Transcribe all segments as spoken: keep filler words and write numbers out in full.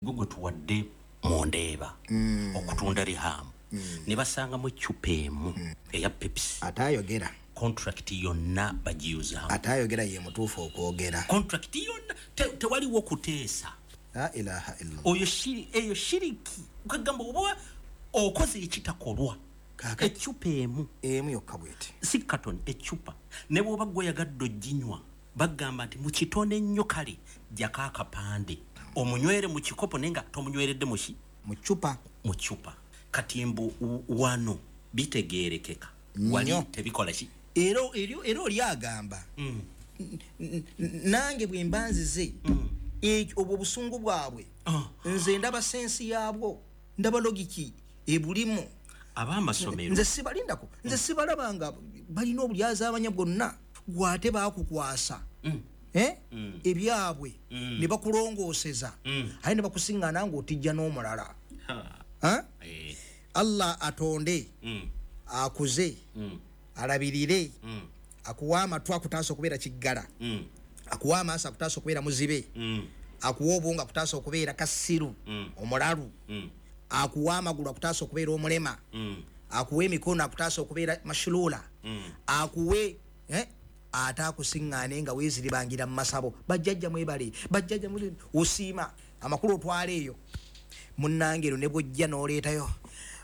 Gwe tuwadde mu Ndeeba Mm. okutunda Rihamu, ne basangamu eccupa emu eya Pepsi. Ate ayogera. Contract yonna bagiyuzaamu. Ate ayogera ye mutuufu okwogera. Contract yonna te- tewaliwo kuteesa. La ilaha illallah. Oyo shiri, eyo shiriki, kagamba oba okoze ekitakolwa. Kaakati. Eccupa emu. Emu yokka bweti. Si katoni, eccupa. Ne bw'oba gweyagadde oginywa, bagamba nti mukitone nnyo, kale jjako akapande omunywere mu kikopo, naye nga tomunyweredde muki? Mu ccupa. Mu ccupa. Kati mbu w- wano bitegeerekeka, wali Nnyo. tebikola ki? Era eri- era oli agamba, Mm. N- n- nange bwe mba nzize, ekyo obwo obusungu bwabwe, Ah. nze ndaba sense yaabwo, ndaba logic ebulimu. Ab'amasomero. Nze sibalindako, nze sibalaba nga balina obulyazaamanya bwonna. Gwate baakukwasa Eh? ebyabwe ne bakulongooseza, aye ne bakusiŋŋaana ng'otijja n'omulala. Ha. Ha? Eh. Allah atonde, Mm. akuze, Mm. alabirire, Mm. akuwa amatu akutaasa okubeera kiggala, Mm. akuwa amaaso akutaasa okubeera muzibe, Mm. akuwa obwongo akutaasa okubeera kasiru, Mm. omulalu, Mm. akuwa amagulu akutaasa okubeera omulema, Mm. akuwa emikono akutaasa okubeera mashulula, Mm. akuwe eh, ate akusiŋŋaane nga weeziribangira mu masabo, bajjajja mwebale, bajjajja mwebale, osiima amakulu otwala eyo. Munnange, ero ne bwojja n'oleetayo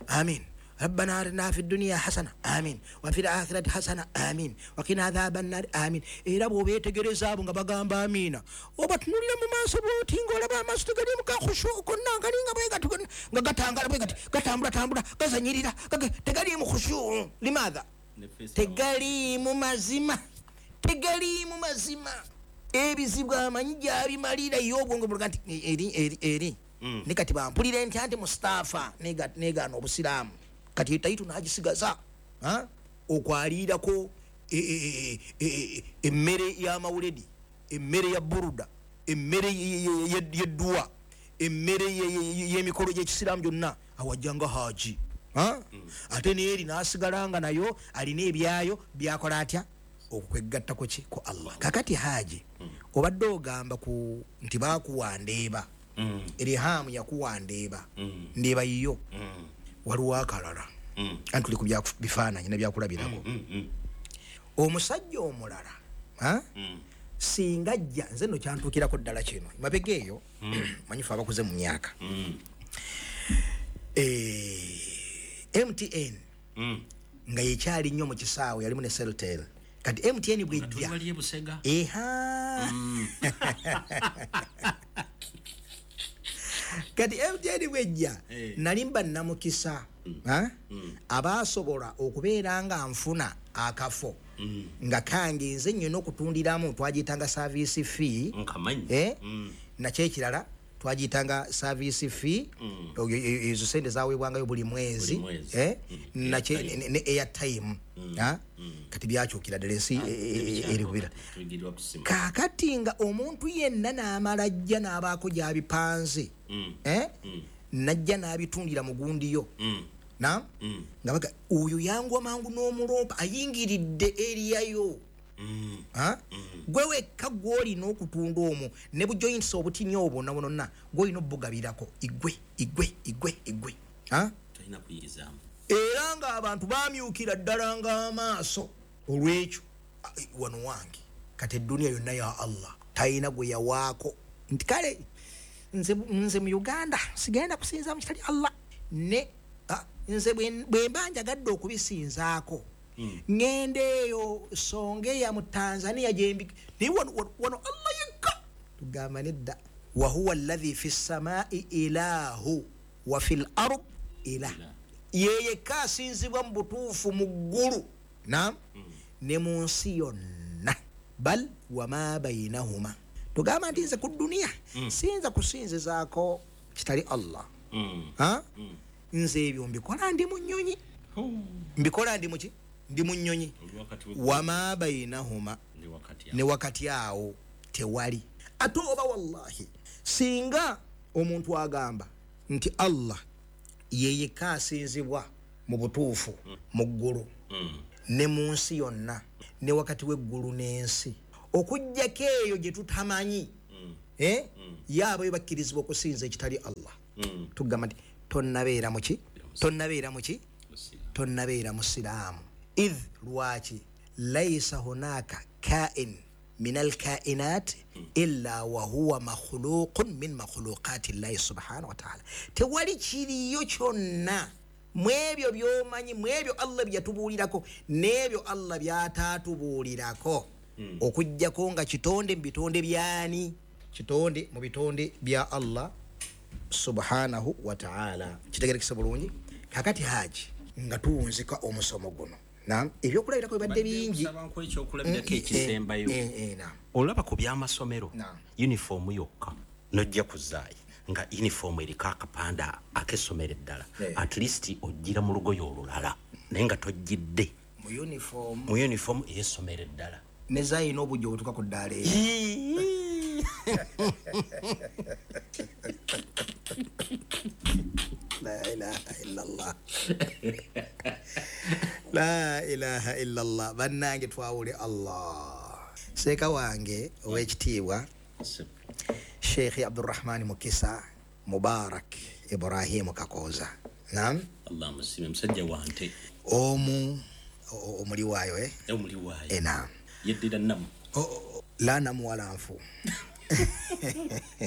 amin, rabbana atina fi duniya hasana amin, wa fil akhirati hasana amin, wakina adhaba nnari amin. Era bw'obeetegereza abo nga bagamba amiina, obatunulira mu maaso bwoti ng'olaba amaaso tegalimu kakhushu konna, galinga bwe gati, nga gatangala bwe gati, gatambulatambula, gazanyirira, gage- tegaliimu khushu. Limaatha? Ne face. Tegaliimu mazima, tegaliimu mazima. Ebizibu amanyi gyabimalira ye, obwongo bulaga nti eri eri eri. Mm. Ne kati bampulire ntya nti Mustaafa nega- negaana obusiraamu, kati etayitu n'agisigaza. Ha? Okwaliirako e- e- e- e- emmere y'amawuledi, emmere ya buruda, emmere ye- ye- ye- y'edduwa, emmere ye- ye- ye- y'emikolo gy'ekisiraamu gyonna, awajjanga haji. Ha? Ate neeri n'asigala nga nayo alina ebyayo byakola atya okwegattako ki ku Allah. Kakati haji, obadde ogamba ku nti bakuwa Ndeeba, Mm. Erihamu yakuwa Ndeeba, Mm. Ndeeba yiyo. Mm. Waliwo akalala, Mm. anti tuli ku byaku- bifaananyi nebyakulabirako. Mm. Mm. Omusajja omulala, ha? Mm. Singa ajja, nze nno kyantuukirako ddala kino mabega eyo, manyi fe abakuze mu myaka. Mm. Eh, M T N Mm. nga yekyali nnyo mu kisaawe, yalimu ne Celtel. Kati M T N Tuli bwejja, wali e Busega. Eha, kati M T N bwejja, Eh. nali mba namukisa, ha? Abasobola okubeera nga nfuna akafo Mm. nga kange nze nnyina okutundiramu, twagiyitanga service fee. Nkamanyi. Eh? Mm. Nakyo ekirala twagiyitanga service fee. Mm. Oyo- e- ezo sente zawebwangayo buli mwezi. Buli mwezi. Eh? Mm. Nakye- Airtime. ne ne airtime. Ha? Kati byakyukira ddala, ensi e- e- e- eri kubira. Tuyigirwa kusima. Kaakati nga omuntu yenna n'amala ajja n'abaako gy'abipanze, Mm. eh? Najja n'abitundira mu gundiyo Mm. na Mm. nga baga oyo yangwa mangu n'omulompa ayingiridde eriyayo. Mm. Ha? Gwe wekka gwolina okutunda omwo ne bujoints obutini obwo nabononna gwolina obugabirako igwe igwe igwe igwe. Ha? Tolina kuyigizaamu. Era ng'abantu bamyukira ddala ng'amaaso olwekyo. Ah, eh, wano wange kati eduniya yonna ya Allah, talina gwe yawaako nti kale nze, nze mu Uganda sigenda kusinza mu kitali Allah ne ah, nze bwe bwe mba njagadde okubisinzaako, ŋŋenda eyo Songeya mu Tanzania gyembi, naye wano, wano, wano Allah yekka. Tugamba nedda, wahuwa alladhi fi ssamai ilahu wa fi l ard ilah, ye yekka asinzibwa mu butuufu mu ggulu nam ne mu nsi yonna, bal wama bainahuma. Tugamba nti nze ku duniya siyinza kusinzizaako kitali Allah. Mm. Ha? Nze ebyo mbikola ndi mu nnyonyi, mbikola ndi muki, ndi mu nnyonyi. Oli wakati we- Wama bainahuma, ndi wakati ne wakati awo tewali. Ate oba wallahi singa omuntu agamba nti Allah ye yekka asinzibwa mu butuufu mu ggulu Mm. ne mu nsi yonna ne wakati w'eggulu n'ensi, okugjako eyo gye tutamanyi, Eh? Yaabo bakkirizibwa okusinza ekitali Allah. Tugamba nti tonnabeera muki? Tonnabeera muki? Tonnabeera musiraamu. Idh lwaki? Laisa hunaka kain min alkainat illa wa huwa makhluqun min makhluqati llahi subhanahu wa ta'ala. Tewali kiriyo kyonna mwebyo byomanyi, mwebyo Allah byatubuulirako n'ebyo Allah byataatubuulirako, okuggyako nga kitonde mu bitonde byani? Kitonde mu bitonde bya Allah subhanahu wa ta'ala. Kitegerekesa bulungi. Kakati Haji nga tuwunzika omusomo guno, naam, ebyokulabirako bibadde bingi. Nsaba ekyokulabirako ekisembayo. Olaba ku by'amasomero, uniform yokka nojja kuzaayi nga uniform eriko akapanda ak'essomero eddala, at least ojjira mu lugoye olulala naye nga tojjidde mu uniform, mu uniform ey'essomero eddala ne zaayi n'obujja obutuuka ku ddaala eryo. La ilaha illallah. La ilaha illallah. Bannange twawule Allah. Seeka wange ow'ekitiibwa Sheikh Abdurrahman Mukisa Mubarak Ibrahim Kakooza. Naam. Allah musime musajja wante. Omu omuli waayo eh? Omuli waayo. Eh, naam. Yeddira namu. La namu wala nfu.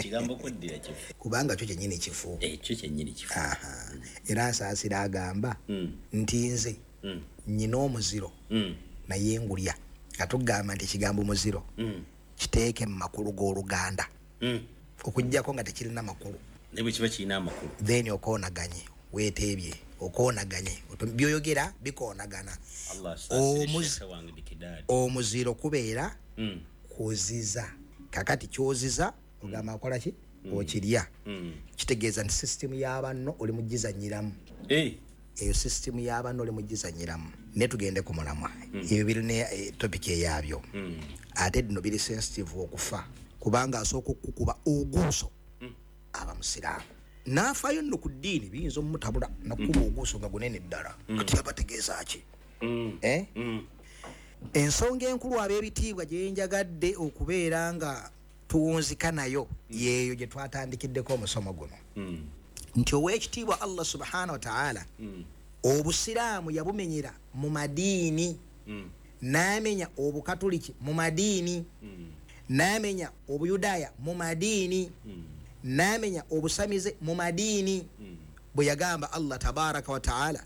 Kigambo kweddira kifu. Kubanga kyo kyennyini kifu. Ekyo kyennyini kifu. Aha. Era nsaasira agamba mm. nti nze mm. nnyina omuziro mm. naye ngulya. Katugamba nti ekigambo muziro mm. kiteeke mu makulu g'Oluganda. Mm. Okuggyako nga tekirina makulu. Naye bwe kiba kirina amakulu. Then okoonaganye, weeteebye, okoonaganye. By'oyogera bikoonagana. Allah asaasire Sheikh wange Bikidadi. Omuziro kubeera mm. kuziza. Kakati kyoziza ogamba akola ki? Mm. Okirya. Mm. Kitegeeza nti system y'abanno oli mugizannyiramu. Eh. Eyo system y'abanno oli mugizannyiramu. Ne tugende ku mulamwa. Mm. Ebyo birina eh, topic eyabyo. Mm. Ate bino biri sensitive okufa. Kubanga asooka okukuba oguuso mm. aba musiraamu. N'afaayo nno ku ddiini biyinza omutabula nakukuba mm. oguuso nga gunene ddala. Mm. Kati abategeeza ki? Mm. Eh? Mm. Ensonga enkulu ab'ebitiibwa gye njagadde okubeera nga tuwunzika nayo yeeyo gye twatandikiddeko omusomo guno. Mm. Nti ow'ekitiibwa Allah subhanahu wa ta'ala mm. obusiraamu yabumenyera mu madiini, mm. n'amenya obukatuliki mu madiini, mm. n'amenya obuyudaaya mu madiini, mm. n'amenya obusamize mu madiini. Mm. Bwe yagamba Allah tabaraka wa ta'ala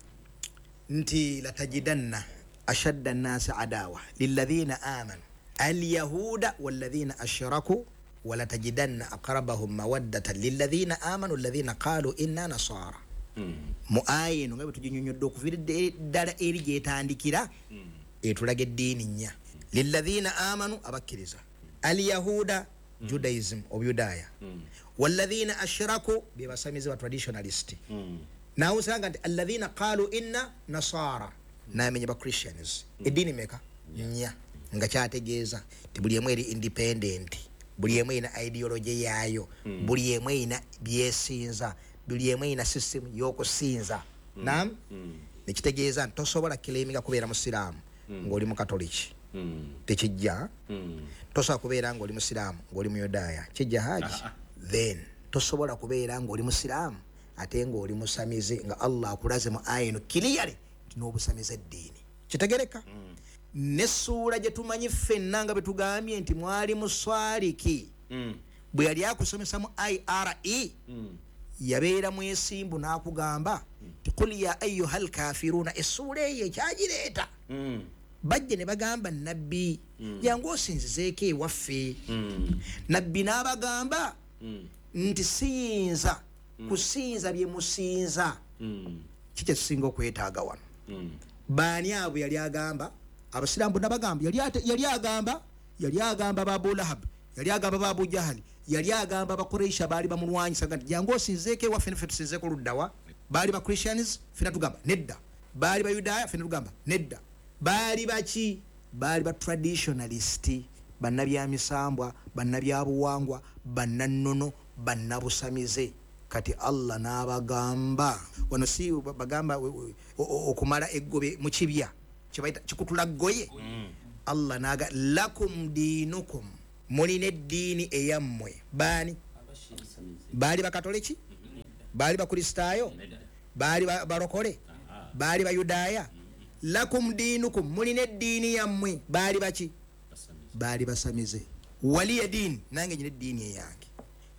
nti latajidanna ashadda an-nasi adawa lilladhina amanu al-yahuda walladhina ashraku walatajidanna aqrabahum mawaddatan lilladhina amanu alladhina qalu inna nasara. Mm. Mu aya eno nga bwe tuginyonnyodde okuviira ddala eri gyetandikira mm. etulaga eddiini nnya. Lilladhina amanu, abakkiriza, al-yahuda mm. Judaism, obuyudaaya, mm. walladhina ashraku be basamize ba traditionalist. Mm. Naawusanga nti alladhina qalu inna nasara, n'amenya ba Christians. Mm. Eddiini meka? Yeah. Nnya. Nga kyategeeza nti buli emu eri independent, buli emu erina ideology yaayo, Mm. buli emu erina byesinza, buli emu erina system y'okusinza. Mm. Naam? Mm. Nekitegeeza nti tosobola claiminga kubeera musiraamu Mm. ng'oli mukatoliki. Mm. Tekijja. Mm. Tosobola kubeera ng'oli musiraamu ng'oli muyudaaya. Kijja Haji? Ah, ah. Then tosobola kubeera ng'oli musiraamu ate ng'oli musamize nga Allah akulaze mu aya eno clearly nti n'obusamize eddiini. Kitegereka? Mm. N'essuula gye tumanyi ffenna nga bwe tugambye nti mwali muswaliki Mm. bwe yali akusomesa mu I R E Mm. yabeera mwesimbu n'akugamba nti qul ya ayyuha alkafiruna. Essuula eyo ekyagireeta Mm. bajje ne bagamba nabbi Mm. jangu osinzizeeko ewaffe. Mm. Nabbi n'abagamba Mm. nti siyinza kusinza bye musinza. Mm. Ki kye tusinga okwetaaga wano? Mm. Baani abo yali agamba? Abasiraamu bonna bagamba yali ate- yali agamba yali agamba ba Abu Lahab, yali agamba ba Abu Jahali, yali agamba Abakureisha baali bamulwanyisa nti jangu osinzeeko ewaffe naffe tusinzeeko luddawa. Baali ba Christians ffenna tugamba nedda, baali Bayudaaya ffenna tugamba nedda, baali baki? Baali ba traditionalist, bannabyamisambwa, bannabyabuwangwa, bannannono, bannabusamize. Kati Allah n'abagamba wano si bagamba okumala eggobe mu kibya kyebayita kikutula ggoye. Mm. Allah n'aga lakum diinukum Mulina eddiini eyammwe. Baani? Baali bakatoliki? Baali bakristaayo? Baali balokole? Baali bayudaaya? Lakum diinukum, mulina eddiini yammwe. Baali baki? Baali basamize. Waliya diini, nange nyina eddiini eyange.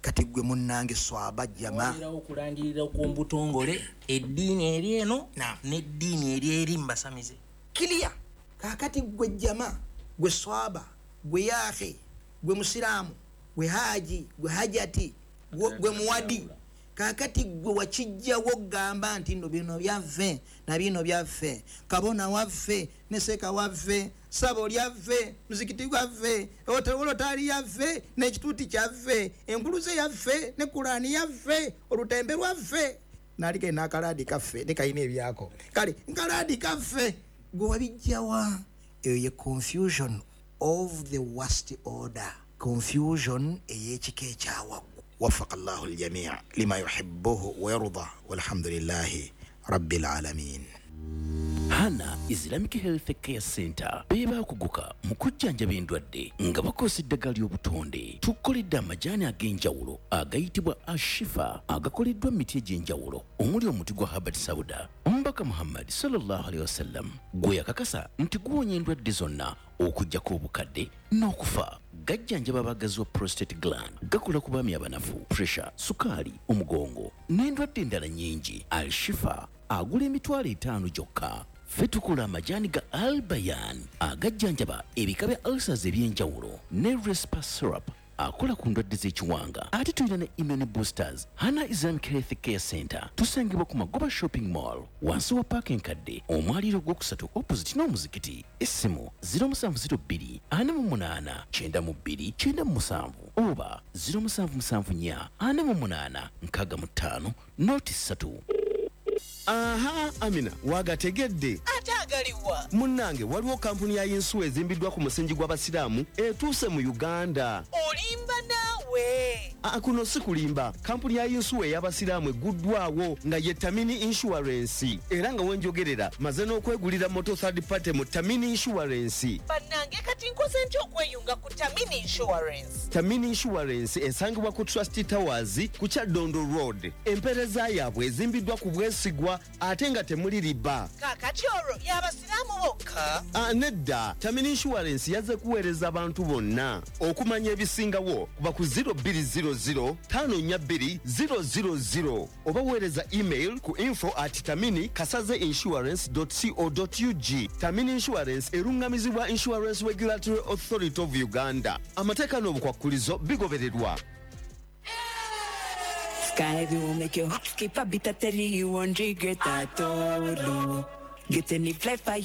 Kati gwe munnange swaba jama okulangirira okw'obutongole eddiini eri eno n'eddiini eri eri mbasamize kiliya. Kakati gwe jama, gwe swaba, gwe yahe, gwe musiraamu, gwe haji, gwe hajati, gwe muwadi, kakati gwe wakijjawo gamba nti nno bino byaffe na bino byaffe, kabona waffe ne seeka waffe, ssabo lyaffe, muzikiti gwaffe, olotali yaffe n'ekituuti kyaffe, enkuluze yaffe ne kulaani yaffe, olutembe lwaffe, naliko n'akalaadi kaffe ne kalina ebyako, kale nkalaadi kaffe, gwe wabijjawa? Eyo ye confusion of the worst order, confusion ey'ekika ekyawaggulu. وفق الله الجميع لما يحبه ويرضى والحمد لله رب العالمين. Hana Islamic Health Care Center beba kuguka mu kujjanjaba endwadde nga bakozesa eddagala ly'obutonde. Tukoledde amajaani ag'enjawulo agayitibwa Ashifa agakoleddwa mu miti egy'enjawulo omuli omuti gwa Habbat Sauda. Omubaka Muhammad sallallahu alaihi wasallam gwe yakakasa nti guwonya endwadde zonna okuggyako obukadde n'okufa. Gajjanjaba abagazi wa prostate gland, gakola ku baami abanafu, pressure, sukaali, omugongo n'endwadde endala nnyingi. Al-Shifa agula emitwalo etaano gyokka. Ffe tukola amajaani ga Albayan agajjanjaba ebika bya ulcers eby'enjawulo ne Respa syrup akola ku ndwadde z'ekiwanga. Ate tulina ne immune boosters. Hana Islamic Health Care Center tusangibwa ku Magoba Shopping Mall wansi wa paaka enkadde, omwaliiro ogwokusatu opposite n'omuzikiti. Essimu zero musanvu zero bbiri ana mu munaana kyenda mu bbiri kyenda mu musanvu oba zero musanvu musanvu nnya ana mu munaana nkaaga mu ttaano noti ssatu. Aha, Amina, wagategedde. Ate agaliwa? Munnange, waliwo kampuni ya yinsuwa ezimbiddwa ku musingi gw'abasiraamu etuuse mu Uganda. Olimba naawe. Aa, kuno si kulimba. Kampuni ya yinsuwa ey'abasiraamu egguddwawo nga ye Tamini Insurance. Era nga wenjogerera maze n'okwegulira moto third party mu Tamini Insurance. Bannange, kati nkoze ntya okweyunga ku Tamini Insurance? Tamini Insurance esangibwa ku Trust Towers ku Kyadondo Road. Empeereza yaabwe ezimbiddwa ku bwesigwa ate nga temuli riba. Kaakati olwo y'abasiraamu bokka? Ah, nedda. Tamini Insurance yazze kuweereza abantu bonna. Okumanya ebisingawo kuba ku zero bbiri zero zero tano nnya bbiri zero zero zero oba weereza email ku info at tamini kasaze insurance dot co dot ug. Tamini Insurance erungamizibwa Insurance Regulatory Authority of Uganda. Amateeka n'obukwakkulizo bigobererwa. Sky will make your heart skip a beat at you won't regret at all. Get any fly fire.